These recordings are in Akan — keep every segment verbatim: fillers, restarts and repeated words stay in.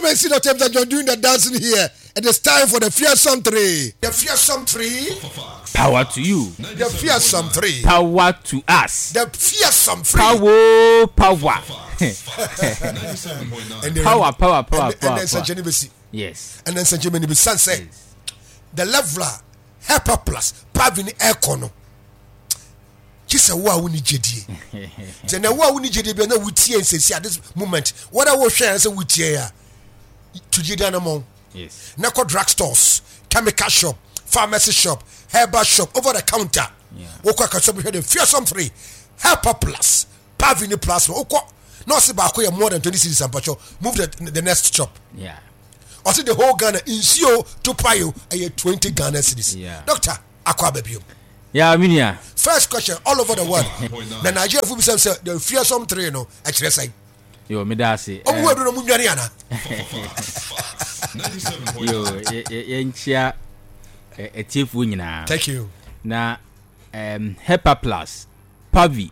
Come and see Doctor Ebenezer John doing the dancing here. It is time for the Fearsome Three. The Fearsome Three. Power to you. The Fearsome Three. Power to us. The Fearsome Three. Power, power. Power, power, power, and, power. And then Sanchani Besi. Yes. And then Sanchani Besi. Say, the leveler, Hepa Plus, Pavini Aircono. Kyesɛ wo a woni gyedie sɛ na wo a woni gyedie bia na wotie nsɛsi at this moment wɔda wohwɛ sɛ wotie a to gyedie anamɔn Yes. Na kɔ drug stores, chemical shop, pharmacy shop, herbal shop, over the counter. Wokɔ akasɛ bɛhwɛ the Fearsome Three, Helper Plus, Pavini Plus. Wokɔ na ɔse baako yɛ more than twenty cedis, ampakyɛw move the, the next shop. Yeah. Ɔse the whole Ghana nsuo to payo ɛyɛ twenty Ghana cedis. Yeah. Doctor, akɔ aba biom. Yeah, minia. First question all over the world na Nigeria fo bisam sɛ the Fearsome Three no ɛkyerɛ sɛn? Yo, me da ase. Ɔmo wo aduro no mu nwane ana? Yo, yɛnkyia atiefoɔ nyinaa. Thank you. Na um, Hepa Plus, Pavi,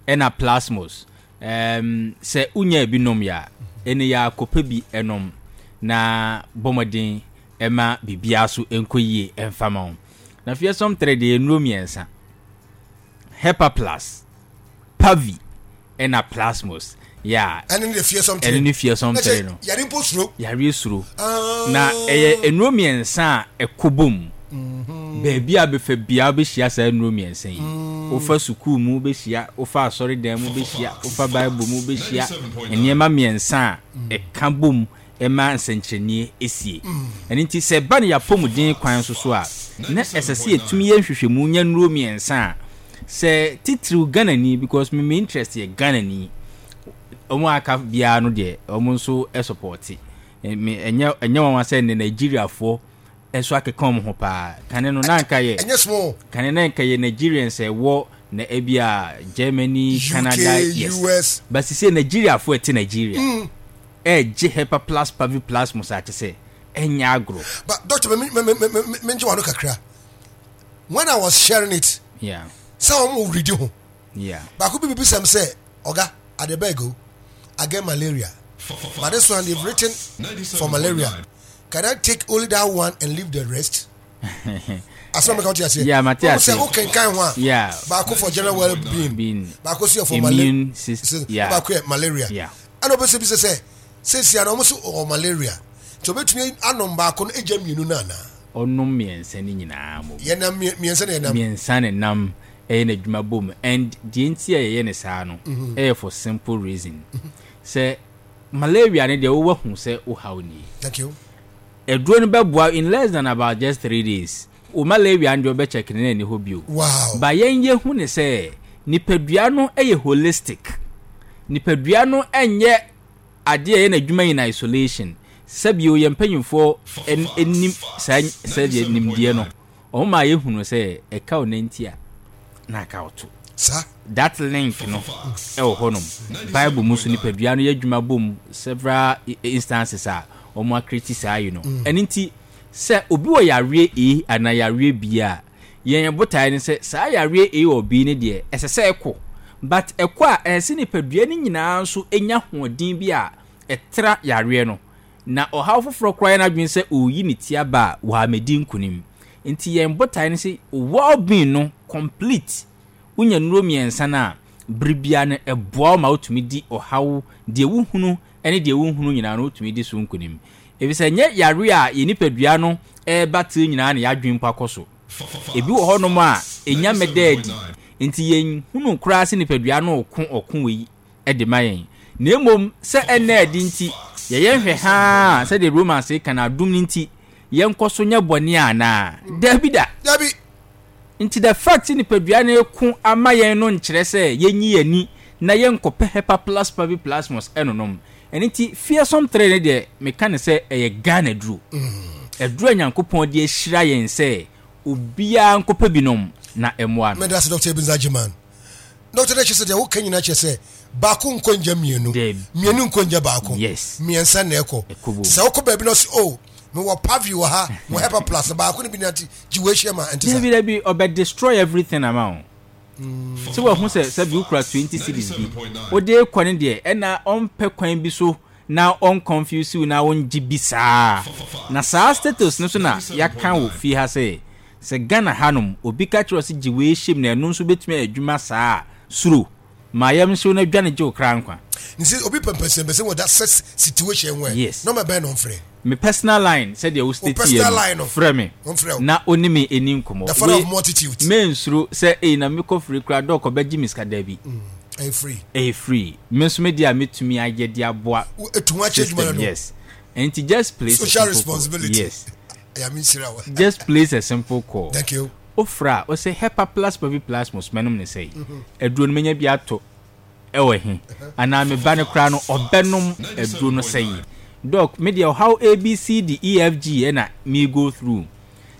ɛna Plasmos. Um, sɛ wonya bi nom yɛ a, ɛne yɛ akɔpɛ bi ɛnom na bɔ mmɔden ɛma biribiara so ɛnkɔ yie ɛmfa ma wo. Na Fearsome Three deɛ, nnuro mmiɛnsa. Hepa Plus, Pavi, ɛna Plasmos. Yeah. Ɛne ne Fearsome Three. Ɛne ne Fearsome Three no. Yare mpo suro. Yare suro. Na ɛyɛ nnuro mmiɛnsa a ɛkɔ bom. Baabi a bɛfa biara wobɛhyia saa nnuro mmiɛnsa yi. Wofa sukuu mu wobɛhyia, wofa asɔredan mu wobɛhyia, wofa Bible mu wobɛhyia nneɛma mmiɛnsa a ɛka bom ɛma nsɛnkyerɛnneɛ esie. Ɛno nti sɛ ɛba no yɛapɔmuden kwan so so a, na ɛsɛ sɛ yɛtumi yɛ nhwehwɛmu nya nnuro mmiɛnsa a sɛ titiriw Ghanani, because me me interest yɛ Ghanani. Wɔn a aka biara no deɛ, wɔn nso support me. Ɛnyɛ ɛnyɛ wɔn sɛ ne Nigeriafoɔ nso akeka wɔn ho paa. Kane no na nka yɛ Ɛnyɛ small. Kane na nka yɛ Nigerians ɛwɔ na ebi a Germany, U K, Canada, yes. U S. But sisi Nigeriafoɔ ɛte Nigeria ɛɛgye Hepa Plus, Pavi Plus mo saa kyɛ sɛ ɛnyɛ agorɔ. But doctor, me me me me me me ngye wano kakra. When I was sharing it, yeah sɛ wɔn mo redi ho. Yeah baako bi bibi sɛm sɛ, "Oga, I dey beg o, I get malaria, but this one they've written for malaria. Can I take only that one and leave the rest?" Asɛm mi ka, wote aseɛ? Yeah, mate Wɔn ase. sɛ wokenkan ho a, Yeah. baako for general well being, being baako so yɛ for malaria, immune system, yeah. Baako yɛ malaria. Yeah ɛna ɔbɛsɛ bi sɛ sɛ sɛsia na ɔmo so ɔwɔ malaria nti ɔbɛtumi anom baako no egya mmienu no anaa? Ɔnom mmiɛnsa no nyinaa mo. Yɛnam mmiɛnsa na yɛnam. Mmiɛnsa ne nam ɛyɛ n'adwuma bom, and deɛ nti a yɛyɛ ne saa no ɛyɛ for simple reason sɛ malaria no deɛ, wowɔ hu sɛ wohaw nie. Thank you. Aduro no bɛboa in less than about just three days, wo malaria no deɛ, wobɛkyɛke ne na ɛni hɔ bio. Wow ba yɛn yɛhu ne sɛ nipadua no yɛ holistic. Nipadua no nyɛ adeɛ a ɛyɛ n'adwuma in isolation. Sɛbio yɛn mpanyinfoɔ anim saa sɛdeɛ nimdeɛ no wɔn maa yɛhunu sɛ ɛka wo nanti a na aka wo to. Saa. That link no ɛwɔ hɔnom. Bible mu so nipadua no yɛ adwuma bom several instances a wɔn akreti saa yi no. Ɛno nti sɛ obi wɔ yareɛ A anaa yareɛ B a, yɛn botaeɛ ne sɛ saa yareɛ A or B no deɛ, ɛsɛ sɛ ɛkɔ, but ɛkɔ a, ɛsɛ sɛ nipadua no nyinaa nso nya hoɔden bi a ɛtra yareɛ no na ɔhaw foforɔ koraa yɛ n'adwene sɛ ɔreyi ne ti aba a wɔamɛdi nkonim. Nti yɛn botaeɛ no sɛ well being no complete. Wonya nnuro mmiɛnsa no a, bere biara no ɛboa wo ma wotumi di ɔhaw deɛ wohunu ne deɛ wonhunu nyinaa no, wotumi di so nkonim, efisɛ nyɛ yare a yɛn nipadua no ɛreba tiri nyinaa na yɛadwene mpo akɔ so. Ebi wɔ hɔnom a ɛnya mmɛda adi, nti yɛnhunu koraa sɛ nipadua no ɔko ɔko wei de ma yɛn. Na mmom sɛ ɛnna adi nti yɛyɛ nhwɛ haa sɛdeɛ Romans ka no, adom no nti yɛnkɔ so nyɛ bɔne anaa? Dabi da. Dabi. Nti the fact nipadua no ko ama yɛn no nkyerɛ sɛ yɛnyi yɛn ani na yɛnkɔpɛ Hepa Plus, Pavi Plasmos ɛnonom. Ɛno nti Fearsome Three no deɛ, meka ne sɛ ɛyɛ Ghana duro, ɛduro a Nyankopɔn de ahyira yɛn sɛ obiara nkɔpɛ binom na ɛmmoa no. Mɛda ase, Doctor Ebenezer Gyeman. Doctor, dɛ kyerɛ sɛ deɛ woka nyinaa kyerɛ sɛ baako nkɔ ngya mmienu, mmienu nkɔ ngya baako, yes mmiɛnsa na ɛkɔ. Ɛkɔ. Sɛ wokɔ baabi na ɔsɛ, "O, mewɔ Pavi wɔ ha, mewɔ Hepa Plus," na baako no bi nante gye wɔ ahyia ma ɛnte sa? Dabi, dabi, ɔbɛ destroy everything ama wo. Sɛ wahu sɛ sɛbi wokura twenty cedis bi wode kɔ ne deɛ, ɛna ɔmpɛ kwan bi so. Na ɔnconfuse wo na ɔngye bi saa. Na saa status no so na yɛaka wɔ fie ha sɛ sɛ Ghana hanom obi ka kyerɛ wo sɛ gye wei hyɛ mu na ɛno nso bɛtumi ayɛ adwuma saa a, suro. Ma yam nhyew na dwane gye wo kra nkwa. Nti obi pɛ mpɛsɛmpɛsɛ wɔ that such situation ho ɛ, Yes. nɔma bɛn na ɔmfrɛ? Me personal line sɛdeɛ wo Wo state personal yɛ line no, no, frɛ me ɔmfrɛ wo. na wo ne me ɛni nkɔmmɔ. The father Wei, of multitudes. mensuro sɛ ei na mekɔ firi koraa dɔk ɔbɛgye me sika, dabi. Ɛyɛ free. Ɛyɛ free. Me nso me deɛ a metumi ayɛ de aboa Wo etu ho akyɛ adwuma no system, no. yes. Nti just place a Social simple call. responsibility. Yes. Ɛyà mi nsira wo. Just place a simple call. Thank you. Wofrɛ a, wosɛ Hepa Plus Pavi Plasmos mɛnom ne sɛi. Aduro no menya bi atɔ ɛwɔ he? Anaa me ba no koraa no ɔbɛnom aduro no sɛi. Doc, me deɛ ɔhaw A B C D E F G ɛna me go through.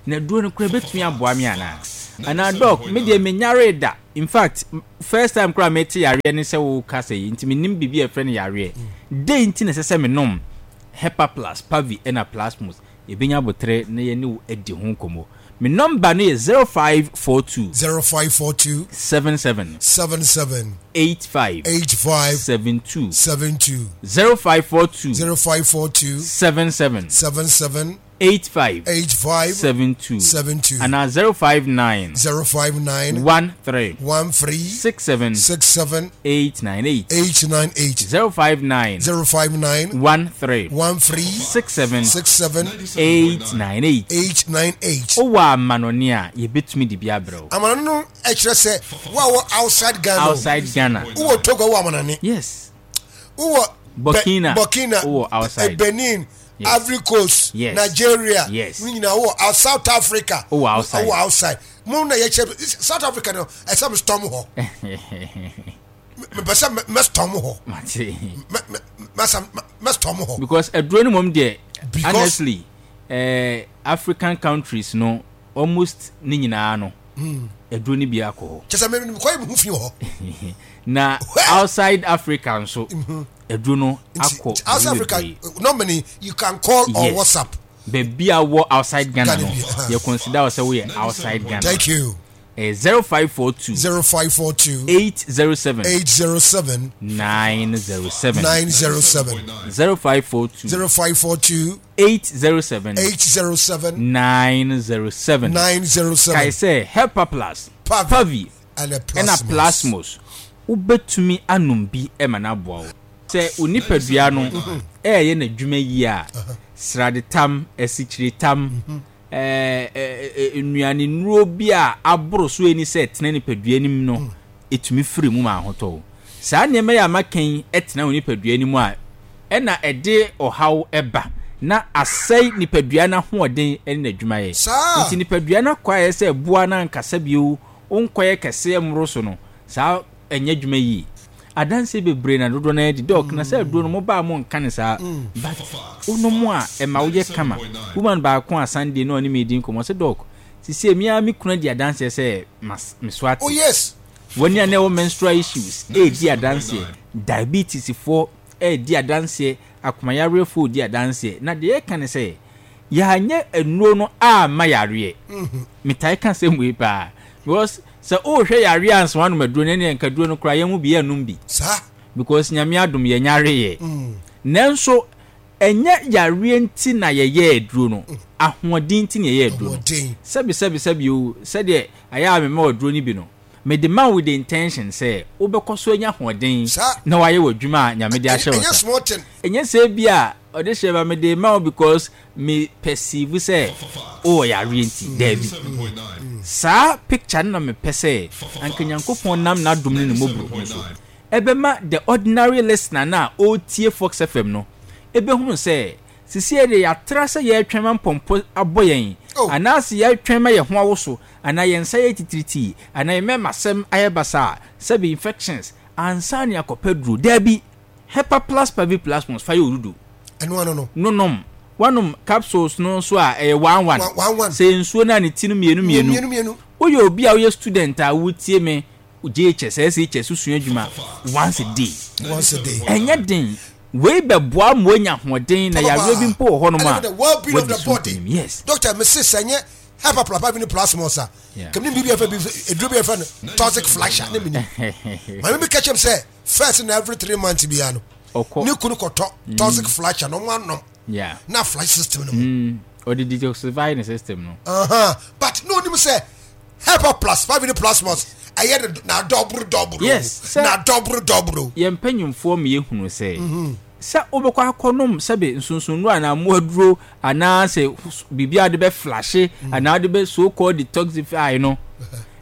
Na aduro no koraa bɛtumi aboa me anaa? Anaa doc, me deɛ menyaree da. In fact, first time koraa mete yareɛ ne sɛ woka sɛ yi, nti menim biribi a ɛfrɛ no yareɛ. Dɛn nti na ɛsɛ sɛ menom Hepa Plus, Pavi ɛna Plasmos? Yɛbɛnya abotrɛ na yɛne wo adi ho nkɔmmɔ. Me number no yɛ zero five four two. zero five four two. seven seven. seven seven. eight five. eight five. seven two. seven two. zero five four two. zero five four two. seven seven. seven seven. eight five. eight five. seven two. seven two. And zero five nine. zero five nine. one three. one three. six seven. six seven. eight nine eight. eight nine eight. zero five nine. zero five nine. one three. one three. six seven. six seven. eight nine eight. eight nine eight. Owa amanoni a yebetumi de bi abrɛ wo. Amanoni no ɛkyerɛ sɛ wo a wɔ outside Ghana. Outside Ghana. Wowɔ Togo wɔ amanani. Yes. Wowɔ Burkina. Burkina. Wowɔ outside. Benin. Yes. Ivory Coast. Yes. Nigeria. Yes. Ne nyinaa wowɔ South Africa. Wowɔ outside. Wowɔ outside. Mo na yɛkyerɛ South Africa no ɛsɛ mo storm hɔ. Mepɛ sɛ mɛ storm hɔ. Mate. Mɛ mɛ mɛ storm hɔ. Because aduro no mom deɛ Because honestly eh, African countries no almost ne nyinaa no aduro no bi akɔ hɔ. Kyɛ sɛ mɛ mekɔ yɛ me ho fi wɔ hɔ. Na outside Africa nso aduro no Nti akɔ outside Africa bebree. normally you can call or Yes. WhatsApp. Baabi a wɔ outside Ghana Ghana no bi, uh-huh. yɛ consider wo sɛ woyɛ outside Ghana. Thank you. Eh, zero five four two. zero five four two. eight zero seven. eight zero seven. nine zero seven. nine zero seven. zero five four two. zero five four two. eight zero seven. eight zero seven. nine zero seven. nine zero seven. Kai sɛ Hepa Plus, Pavi, Pavi, ɛna ɛna Plasmos. Wobɛtumi anom bi ɛma no aboa wo. Sɛ wo nipadua no ɛyɛ n'adwuma yie a, sradetam, asikyiretam, ɛɛ, ɛɛ, nnuane nnuro bi a aboro so ani sɛ tena nipadua anim no, ɛtumi firi mu ma ahotɔ wo. Saa nneɛma yi a maka yi tena wo nipadua anim a, ɛna ɛde ɔhaw ɛba na asɛe nipadua no ahoɔden ne n'adwumayɛ. Saa. Nti nipadua no akɔ ayɛ sɛ ɛboa no ankasa bio, wonkɔyɛ kɛseɛ mmoro so no, saa ɛnyɛ adwuma yie. Adanse bebree na dodoɔ no adi dɔk na sɛ aduro no mo baa mo nka ne saa, but wonom a ɛma woyɛ kama. Woman baako a Sunday na ɔne me di nkɔmmɔ sɛ dɔk sisi emi a me kunu di adanseɛ sɛ mas me so ate. Oh yes. Wɔn a na ɛwɔ menstrual issues ɛredi adanseɛ, diabetes foɔ ɛredi adanseɛ, akomayarefoɔ di adanseɛ. Na deɛ yɛka ne sɛ yɛanyɛ nnuro no ama yareɛ. Metae ka sɛm wei paa because sɛ wohwɛ yareɛ ansa wanom aduro no, ɛne nka aduro no koraa yɛn mu bi yɛnnom bi. Saa. Because Nyame adom yɛn yareɛ. Nanso ɛnyɛ yareɛ nti na yɛyɛ aduro no, ahoɔden nti na yɛyɛ aduro no. Ahoɔden. Sɛbi sɛbi sɛbi o, sɛdeɛ ayɛ a mema aduro no bi no, mede ma wo with the intention sɛ wobɛkɔ so anya ahoɔden Saa. na wayɛ w'adwuma a Nyame de ahyɛ wo Ɛnyɛ nsa. small thing. Ɛnyɛ sɛ bi a ɔde hyɛ ba mede ma wo because me perceive sɛ wowɔ yareɛ nti, daabi. Saa picture no na mepɛ sɛ anka Nyankopɔn nam n'adom ne ne mmɔborɔhunu so ɛbɛma the ordinary listener na ɔretie Fox F M no ɛbɛhunu sɛ sisi yɛ de yɛatra sɛ yɛretwɛn ma mpɔmpɔ abɔ yɛn Oh. anaasɛ yɛretwɛn ma yɛn ho awoso anaa yɛn nsa yɛ titiritii anaa yɛn mmarima asɛm ayɛ basa sɛbi infections ansa ne akɔpɛ duro. Daabi, Hepa Plus Pavi Plasmos fa yɛ odudu. Ɛno ano no. Nonom wanom capsules no nso a ɛyɛ one one. One, one, one. Sɛ nsuo no a ne ti no mmienu mmienu. Mmienu mmienu. Woyɛ obi a woyɛ student a wotie me J H S, S H S sua adwuma once a day. Once a day. Ɛnyɛ den. Wei bɛboa ma woanya ahoɔden na yareɛ bi mpo wɔ hɔnom a Ɛna the well-being of wadi the so body. nkonim. Yes. Doctor, me se sɛ nyɛ Hepa Plus Pavi ne Plasmos a, Yeah. kɛmɛ ni biribi a yɛfrɛ bi eduro bi a yɛfrɛ no toxic flasher ne mi ni. Maame bi ka kyerɛ me sɛ first na every three months biara no, Ɔkɔ. Ne kunu kɔtɔ toxic flasher na ɔmo anom Yeah. na flash system no mu. Mm. Ɔde detoxify ne system no. Uh-huh. But no onim sɛ Hepa Plus five minute plus plus ɛyɛ no na dɔboro dɔboro. Yes, sɛ- Na dɔboro dɔboro. Yɛn mpanyimfoɔ ma yɛhunu sɛ sɛ wobɛkɔ akɔnom sɛbe nsonsonno anaa mmoaduro anaasɛ biribi a wode bɛflashe anaa wode bɛ so called detoxify no,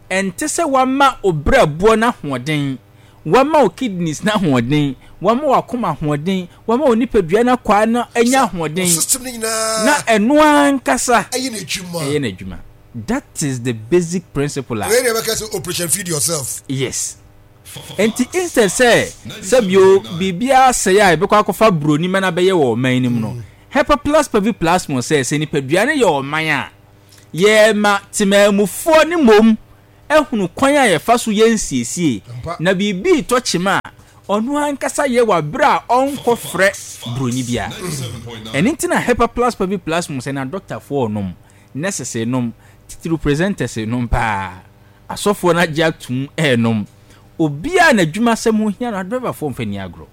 ɛnte sɛ wama wo brɛboɔ no ahoɔden, wama wo kidneys no ahoɔden, wama wakoma ahoɔden, wama wo nipadua no akwaa no anya ahoɔden. System no nyinaa na ɛno ankasa ɛyɛ n'adwuma. Ɛyɛ n'adwuma. That is the basic principle a Wei deɛ bɛka sɛ operation feed yourself. Yes, nti instead sɛ sɛbio biribiara sɛe a yɛbɛkɔ akɔfa buroni ma no abɛyɛ wɔ ɔman no mu no, Hepa Plus Pavi Plasmo sɛ sɛ nipadua no yɛ ɔman a yɛma temaamufoɔ ne mmom ahunu kwan a yɛfa so yɛ nsiesie Ampa. na biribi tɔ kyema a ɔno ankasa yɛ wɔ abere a ɔnkɔfrɛ buroni biara. Ɛno nti na Hepa Plus Pavi Plasmo sɛ na dɔktafoɔ ɔnom, nurses nom, titiri presenters nom paa, asɔfoɔ no agye atum ɛɛnom, obiara n'adwuma sɛm ho hia no, adrɔbafoɔ mfa ni agorɔ.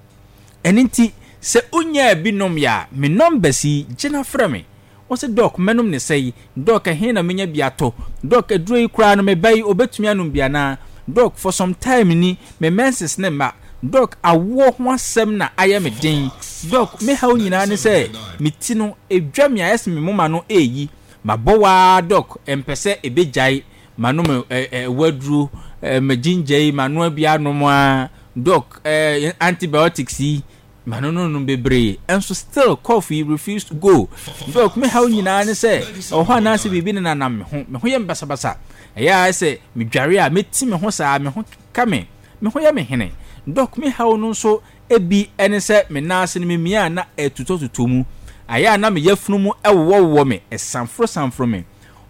Ɛno nti sɛ wonyaa bi nom yɛ a, me numbers yi gyina frɛ me. Wɔsɛ, "Doc, mɛnom ne sɛyi? Doc, ɛhe na menya bi atɔ? Doc, aduro yi koraa no meba yi obɛtumi anom bi anaa? Doc, for some time ni me menses ne mma. Doc, awoɔ ho asɛm na ayɛ me den. Doc, me haw nyinaa ne sɛ me ti no edwa me ayɛ sɛ me moma no ɛɛyi mabɔ waa. Doc, ɛmpɛ sɛ ɛbɛgyae manom ɛ ɛ waduro ɛ me ginger yi manoa bi anom a. Doc, ɛ antibiotics yi mano no nom bebree ɛnso still cough yi refuse to go. Doc, me haw nyinaa ne sɛ ɛwɔ hɔ anaasɛ biribi ne nanam me ho, me ho yɛ me basabasa, ɛyɛ a sɛ medware a meti me ho saa, me ho ka me, me ho yɛ me hene. Doc, me haw no nso ebi ɛne sɛ me nan ase no memia a na ɛtutɔtutɔ mu, ayɛ a na me yafunu mu ɛwowɔwowɔ me, ɛsanforo sanforo me.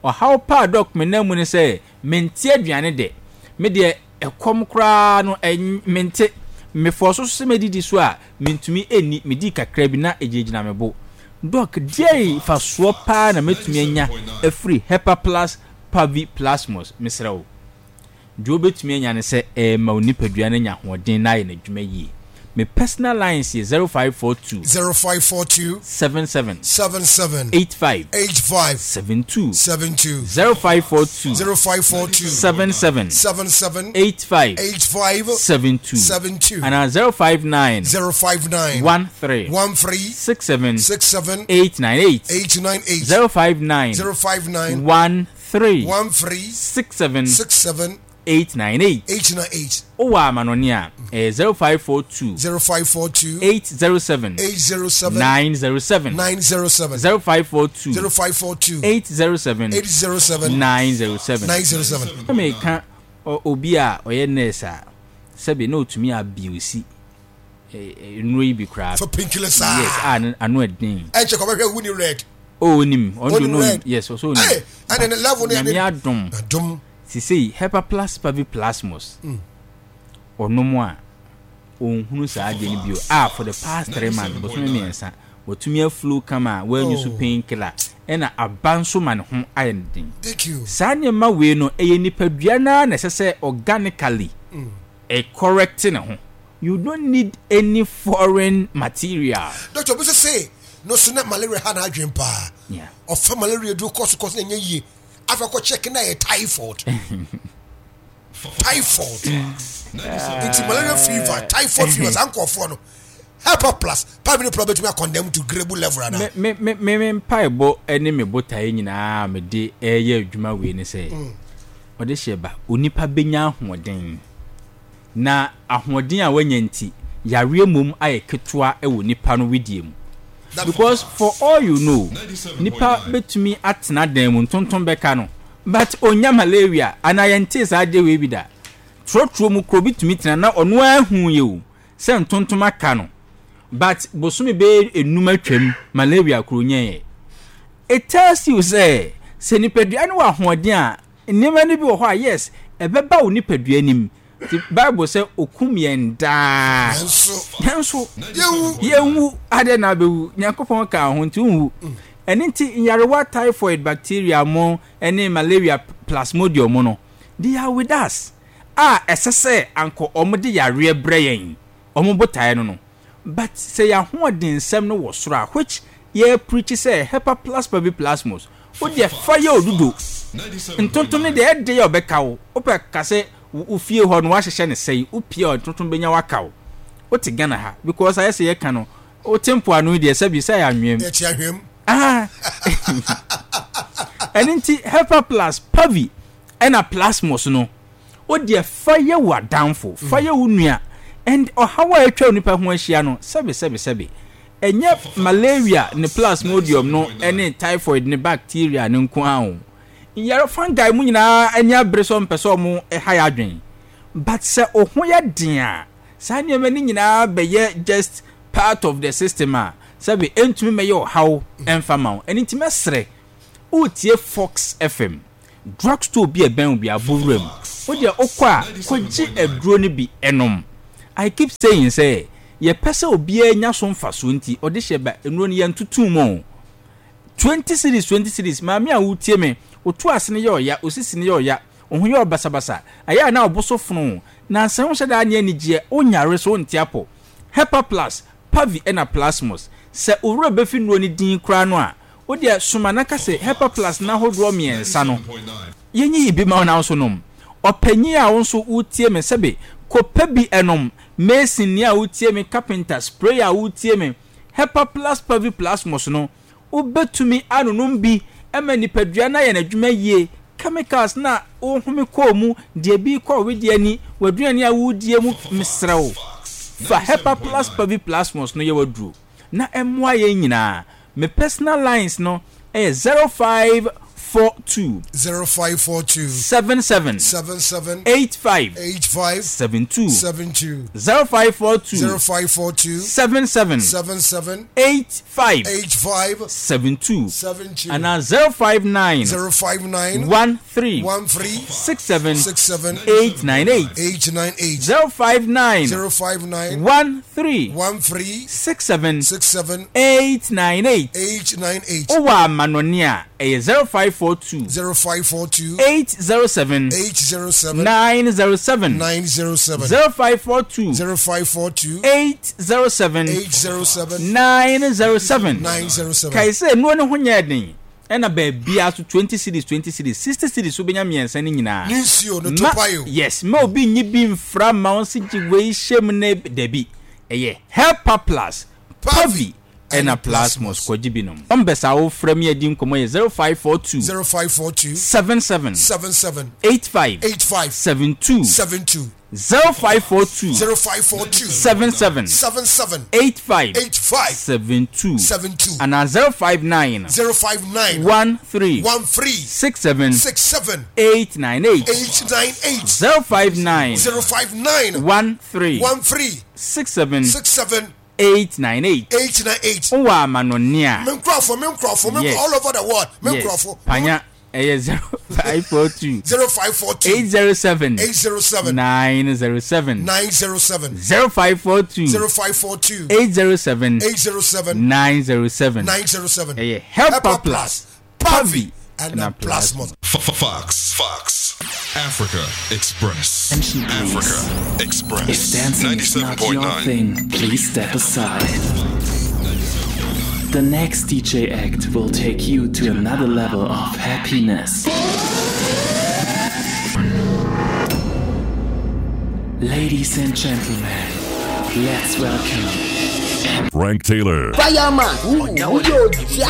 Ɔhaw paa, Doc, me nan mu ne sɛ mente aduane de, me deɛ ɛkɔm koraa no ɛn mente mefɔ so sɛ medidi so a mentumi ɛnni, medi kakra bi na ɛgyinagyina me bo. Doc, deɛ fasoɔ paa na mɛtumi anya afiri Hepa Plus Pavi Plasmos? Mesrɛ wo, deɛ wobɛtumi anya ne sɛ ɛɛma wo nipadua no anya ahoɔden na ayɛ n'adwuma yie. Me personal lines yɛ zero five four two zero five four two seven seven seven seven eight five eight five seven two. seven two. zero five four two zero five four two seven seven seven seven eight five eight five seven two seven two. Anaa zero five nine zero five nine one three one three six seven six seven eight nine eight. eight nine eight. zero five nine zero five nine one three one three six seven six seven eight nine eight. eight nine eight. Wowɔ amanɔne a, ɛyɛ zero five four two zero five four two eight zero seven eight zero seven nine zero seven. nine zero seven. zero five four two zero five four two eight zero seven eight zero seven nine zero seven. nine zero seven. Na meka ɔ- obi a ɔyɛ nurse a sɛbi na otumi abuse nnuro yi bi koraa for painkiller saa. Yes, a ne- ano ɛden. Ɛnkyɛ kɔbɛhwɛ wuni red. O, onim ɔno de Onim no. red. Yes, ɔsɛ Hey, onim. ɛne ne level no yɛ Nyame ne adom, adom. Sisei Hepa Plus Pavi Plasmos ɔnom a ɔnhunu saa adeɛ no bio a for the past three months, bosome mmiɛnsa, watumi aflow kama a wanyu so Oh. painkiller, ɛna aba nso ma ne ho ayɛ no den. Thank you. Saa nneɛma wei no ɛyɛ nipadua naa na ɛsɛ sɛ organically ɛ correct ne ho. You don't need any foreign material. Doctor, obi sɛ se no so na malaria ha na adwen paa. Yeah. Ɔfa malaria duro kɔ so kɔ so na ɛnyɛ yie, afei akɔ check na ɛyɛ typhoid, typhoid. Nti malaria fever, typhoid fever, saa nkɔɔfoɔ no Hepa Plus five minute plus bɛtumi akɔndɛm to grade level ana? Me me me me me mpaebɔ ne me botaeɛ nyinaa a mede ɛyɛ adwuma wei ne sɛ ɔde hyɛ ba onipa bɛnya ahoɔden, na ahoɔden a wanya nti yareɛ mmom ayɛ ketewa wɔ nipa no widie mu, because for all you know, nipa bɛtumi atena dan mu, ntontom bɛka no, but onya malaria anaa yɛntee saa adeɛ wei bi da. Trɔtrɔ mu kuro bi tumi tena na ɔno ahu yɛ o sɛ ntontom aka no, but bosome bɛyɛ enum atwam, malaria kuro nyɛɛ. It tells you sɛ sɛ nipadua no wɔ ahoɔden a, nneɛma no bi wɔ hɔ a, yes, ɛbɛba wo nipadua nim. Nti Bible sɛ okum yɛn daa nanso nanso yɛwu. Yɛnwu adeɛ na abɛwu. Nyankopɔn ka ho nti wonwu. Ɛno nti nyarewa typhoid bacteria mo ne malaria plasmodium mo no, they are with us a ɛsɛ sɛ ankɔ ɔmo de yareɛ brɛ yɛn. Ɔmo botaeɛ no no But sɛ yɛahoɔden nsɛm no wɔ soro a, which yɛ preach sɛ Hepa Plus Pavi Plasmos, wo deɛ fa yɛ odudo. Ntontom no deɛ ɛde yɛ ɔbɛka wo. Wopɛ ka sɛ wo fie hɔ no wahyehyɛ ne sɛe, wopie a ntontom bɛnya waka wo. Wote Ghana ha, because ayɛ sɛ yɛka no, wote mpoano yi deɛ sɛbi sɛ yɛ anwea mu. Yɛte ahwea mu. Ah. Ɛno nti Hepa Plus Pavi ɛna Plasmos no, wo deɛ fa yɛ wo adamfo, fa yɛ wo nua. And ɔhaw a atwa onipa ho ahyia no, sɛbi sɛbi sɛbi, ɛnyɛ malaria ne plasmodium no ɛne typhoid ne bacteria ne nko ara o. Yɛrɛ fungi mu nyinaa ani abere sɛ ɔmpɛ sɛ ɔmo ɛha yɛ adwen. But sɛ ɔho yɛ den a, saa nneɛma no nyinaa bɛyɛ just part of the system a, sɛbi ɛntumi mɛyɛ ɔhaw ɛmfa ma wo. Ɛno nti mɛsrɛ, wotie Fox F M, drugstore bi a ɛbɛn wo bi abɔwura mu, wo deɛ wokɔ a kɔgye aduro no bi ɛnom. I keep saying sɛ yɛpɛ sɛ obiara nya so mfasoɔ nti ɔde hyɛ ba nnuro no yɛntoto mu o. Twenty cedis, twenty cedis. Maame a wotie me, wotu ase no yɛ ɔya, osisi no yɛ ɔya, wo ho yɛ ɔbasabasa, ɛyɛ a na ɔbo so fono na nsɛn ho hyɛ daa ne anigyeɛ, wonyare so wonte apɔ. Hepa Plus Pavi ɛna Plasmos, sɛ owura bɛfi nnuro no din koraa no a, wodeɛ soma na ka sɛ Hepa Plus n'ahodoɔ mmiɛnsa no yɛnyi bi ma wo na wo nso nom. Ɔpanyin a wo nso wotie me, sɛbe kɔpɛ bi ɛnom. Mason ni a wotie me, carpenter spray a wotie me, Hepa Plus Pavi Plasmos no, wobɛtumi anonom bi ɛma nipadua no ayɛ n'adwuma yie. Chemicals na wohome kɔɔ mu deɛ bi kɔɔ wedeɛ ani w'aduane a wodie mu, mesrɛ wo, fa Hepa Plus Pavi Plasmos no yɛ waduro na ɛmmoa yɛn nyinaa. Me personal lines no ɛyɛ zero five four two zero five four two seven seven seven seven eight five eight five seven two. seven two. zero five four two zero five four two seven seven seven seven eight five eight five seven two seven two anaa zero five nine zero five nine one three one three six seven six seven eight nine eight. eight nine eight. zero five nine zero five nine one three one three six seven six seven eight nine eight. eight nine eight. Wowɔ amanɔne a, ɛyɛ zero five four two zero five four two eight zero seven eight zero seven nine zero seven. nine zero seven. zero five four two zero five four two eight zero seven eight zero seven nine zero seven. nine zero seven. Kae sɛ nnuro no ho nyɛ den, ɛna baabia so twenty cedis, twenty cedis, sixty cedis, wobɛnya mmiɛnsa no nyinaa. Ne nsuo no Ma topayo. Yes, ma obi nyi bi mfra ma wo nse gye wei hyɛ mu ne dabi, ɛyɛ Helper Plus Pavi ɛna Plasmos, kɔgye bi nom. Numbers a wofrɛ mi adi nkɔmmɔ yɛ zero five four two zero five four two seven seven seven seven eight five eight five seven two. seven two. zero five four two zero five four two seven seven seven seven eight five eight five seven two seven two anaa zero five nine zero five nine one three one three six seven six seven eight nine eight. eight nine eight. zero five nine zero five nine one three one three six seven six seven eight nine eight. eight nine eight. Wowɔ amanɔne a, Me nkurɔfo, me nkurɔfo, me Yes. all over the world, me yes nkurɔfo. Panya ɛyɛ zero five four two zero five four two eight zero seven eight zero seven nine zero seven. nine zero seven. zero five four two zero five four two eight zero seven eight zero seven nine zero seven. nine zero seven. Ɛyɛ Helper Plus Pavi and ɛna Plasmos. Fox, Fox, Africa Express. Attention, please. Africa Express. If dancing is not your ninety-seven point nine. Thing, please step aside. The next D J act will take you to another level of happiness. Ladies and gentlemen, let's welcome Frank Taylor. Fireman, woyɛ ogya.